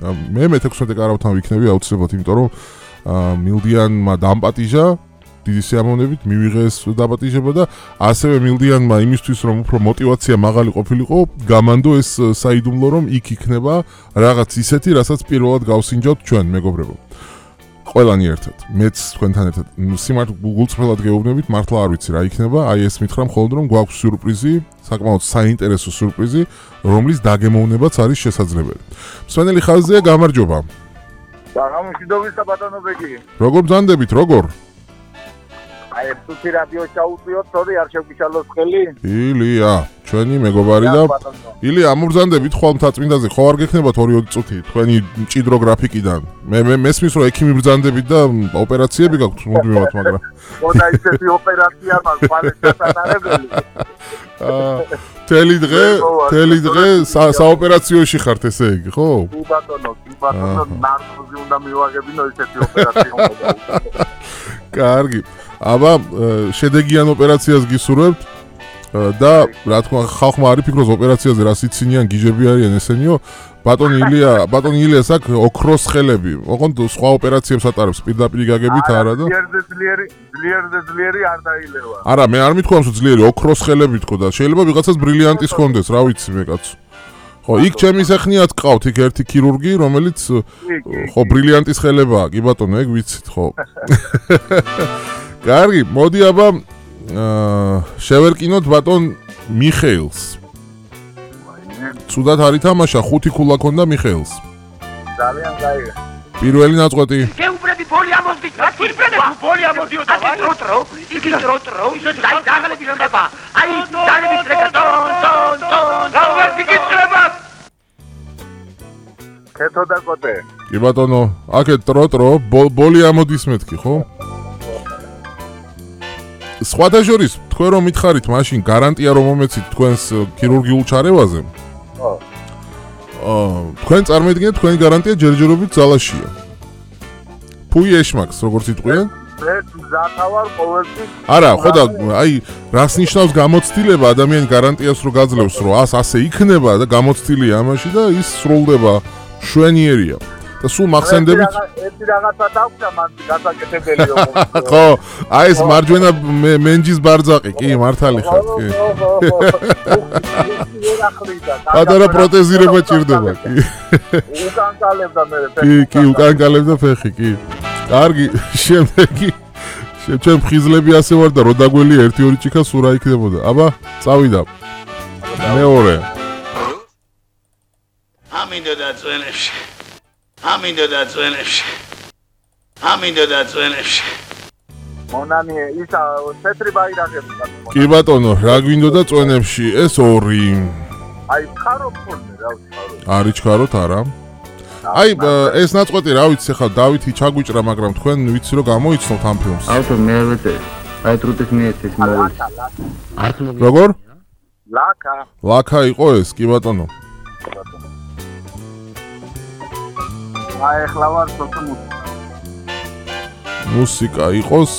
მე მე-16 კარავთან ვიქნები აუცილებლად, იმიტომ რომ მილდიანმა დამპატიჟა დიდი სიამოვნებით მივიღეს დაპატიჟება და ასევე მილდიანმა იმისთვის რომ უფრო мотиваცია მაღალი ყოფილიყო, გამანდო ეს საიდუმლო რომ იქ იქნება რაღაც ისეთი, რასაც პირველად გავსინჯავთ ჩვენ მეგობრებო. ყველანი ერთად, მეც თქვენთან ერთად. სიმართლე გულწრფელად გეუბნებით, მართლა არ ვიცი რა იქნება, აი ეს მითხრა მხოლოდ რომ გვაქვს სიურპრიზი, საკმაოდ საინტერესო სიურპრიზი, რომლის დაგემოვნებაც არის შესაძლებელი. მსვენელი ხაზია, გამარჯობა. გამომშვიდობისა ბატონო ბეგი. როგორ ბრძანდებით, როგორ? აი თუთი რადიო ჩაუწიოთ, თორე არ შევგიშალოს ხელი? ილია, ჩვენი მეგობარი და ილია, ამობრძანდებით ხვალ მთაწმინდაზე, ხო არ გექნებათ 2-20 წუთი თქვენი მჭიდრო გრაფიკიდან. მე მესმის რომ ექიმი ბრძანდებით და ოპერაციები გაქვთ მუდმივად, მაგრამ ხოდა ისეთი ოპერაცია მაქვს, პალესტინელები. თელი დღე საოპერაციოში ხართ ესე იგი, ხო? კი ბატონო, ნარკოზი უნდა მივაღებინო ისეთი ოპერაცია უნდა. კარგი. აბა შედეგიან ოპერაციას გისურვებთ და რა თქმა უნდა ხალხმა არ იფიქროს ოპერაციაზე რა სიცინიან გიჟები არიან ესენიო ბატონი ილიას აქ ოქროს ხელები ოღონდ სხვა ოპერაციებს ატარებს პირდაპირ გაგებით არა და ძლიერი არ დაილევა არა მე არ მithქვამს რომ ძლიერი ოქროს ხელები თქო და შეიძლება ვიღაცას ბრილიანტის კონდეს რა ვიცი მე კაცო ხო იქ ჩემი სეხნიათ ყავთ იქ ერთი ქირურგი რომელიც ხო ბრილიანტის ხელებაა კი ბატონო ეგ ვიცით ხო კარგი, მოდი აბა შევერკინოთ ბატონ მიხეილს. ცუდად არ ითამაშა, 5 ქულა ქონდა მიხეილს. ძალიან გაიგე. პირველი ნაწყვეტი. გეუბრები ბოლი ამოვდით, რა თვითმფრენები ბოლი ამოვდიოთ. აი როტრო, იგი როტრო, ისე დააღლები ხდება. აი დაგები ტრეკა ტონ. გავარ გიგიწრება. ქეთო და კოტე. კი ბატონო, აქეთ როტრო, ბოლი ამოდის მეთქი, ხო? სხვათა შორის თქვენ რომ მითხარით მაშინ გარანტია რომ მომეცით თქვენს ქირურგიულ ჩარევაზე თქვენ წარმოიდგინეთ თქვენი გარანტია ჯერჯერობით ძალაშია ფუი ეშმაკს როგორც იტყვიან მე მზათავარ ყოველთვის არა ხო და აი რას ნიშნავს გამოცდილება ადამიანის გარანტიას რო გაძლევს რომ ასე იქნება და გამოცდილია ამაში და ის სრულდება შვენიერია და სულ მახსენდებით ერთი რაღაცა დავხდა მან გასაკეთებელიო ხო აი ეს მარჯვენა მენჯის ბარძაყი კი მართალი ხარ კი პატარა პროტეზირება ჭირდება კი უკანკალებდა მე ფეხი კი უკანკალებდა ფეხი კი კარგი შემდეგი ჩემ ხიზლები ასე ვარ და რო დაგველი 1-2 ჭიქა სულ რა იქნებოდა აბა წავიდა მეორე ამინდო და წვენებში მონანი ისა თეთრი ბაირაღები კი ბატონო რა გვინდოდა წვენებში ეს 2 აი ხარო ფორმე რა ვიცი არის ჩქაროთ არა აი ეს ნაწყვეტი რა ვიცი ხა დავითი ჩაგვიჭრა მაგრამ თქვენ ვიცი რომ გამოიცნობთ ამ ფილმს ავტო მე არ ვეწერ აი ტრუტის მიეცეს მოვლის როგორ ლაკა იყო ეს კი ბატონო აი ხლა ვარ სოთო მუსიკა იყოს